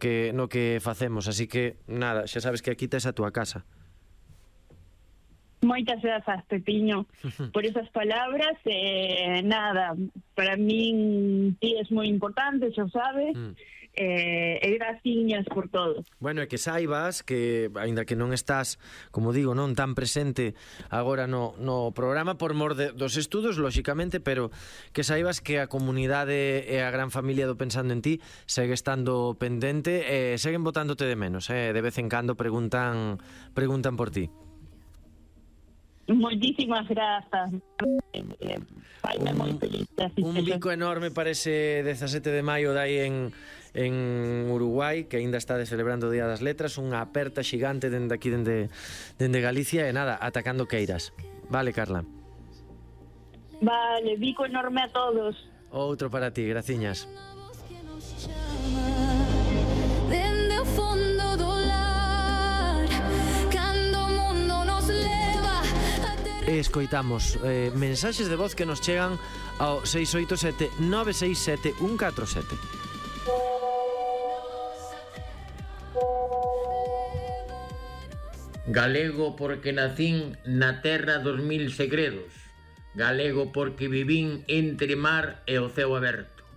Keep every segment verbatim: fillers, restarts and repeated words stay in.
que, no que facemos, así que nada, xa sabes que aquí tes a túa casa. Moitas grazas, Pepiño, por esas palabras. Eh, nada, para min ti es moi importante, xa sabes. Mm. Eh, e graciñas por todo. Bueno, e que saibas que, aínda que non estás, como digo, non tan presente agora no, no programa por mor de, dos estudos, lóxicamente, pero que saibas que a comunidade e a gran familia do Pensando en Ti segue estando pendente e seguen botándote de menos, eh? De vez en cando preguntan preguntan por ti. Moitísimas grazas. Faime moi feliz. Un bico enorme para ese dezasete de maio dai en en Uruguai, que aínda está celebrando o Día das Letras, unha aperta xigante dende aquí, dende, dende Galicia, e nada, atacando queiras. Vale, Carla? Vale, bico enorme a todos. Outro para ti, graciñas. Dende o fondo do lar, cando o mundo nos leva. E escoitamos eh, mensaxes de voz que nos chegan ao seis oito sete nove seis sete un catro sete. Galego porque nacín na terra dos mil segredos. Galego porque vivín entre mar e o ceo aberto.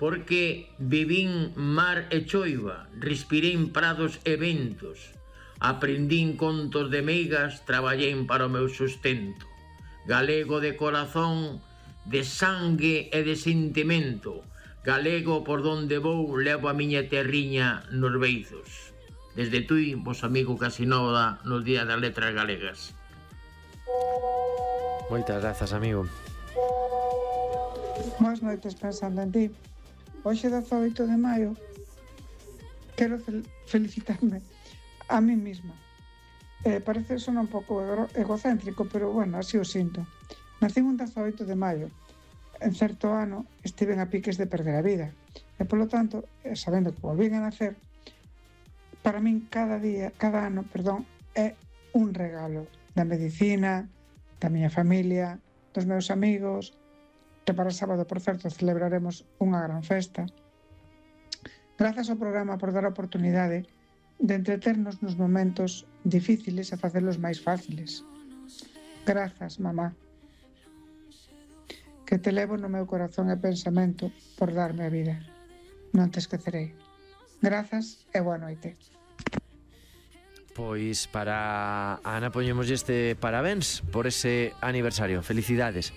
Porque vivín mar e choiva, respirei prados e ventos. Aprendín contos de meigas, traballei para o meu sustento. Galego de corazón, de sangue e de sentimento. Galego por donde vou, levo a miña terriña nos beizos. Desde Tui, vos amigo Casinova, nos Días das Letras Galegas. Moitas grazas, amigo. Boas noites, Pensando en Ti. Hoxe, dezaoito de maio, quero fel felicitarme a mí mesma. Eh, parece sonar un pouco egocéntrico, pero bueno, así o sinto. Nací un dezaoito de maio. En certo ano estiven a piques de perder a vida. E, polo tanto, sabendo que volvín a nacer, para min cada día, cada ano, perdón, é un regalo da medicina, da miña familia, dos meus amigos, que para sábado, por certo, celebraremos unha gran festa. Grazas ao programa por dar a oportunidade de entreternos nos momentos difíciles e facelos máis fáciles. Grazas, mamá, que te levo no meu corazón e pensamento por darme a vida. Non te esquecerei. Grazas e boa noite. Pois para Ana poñemos este parabéns por ese aniversario. Felicidades.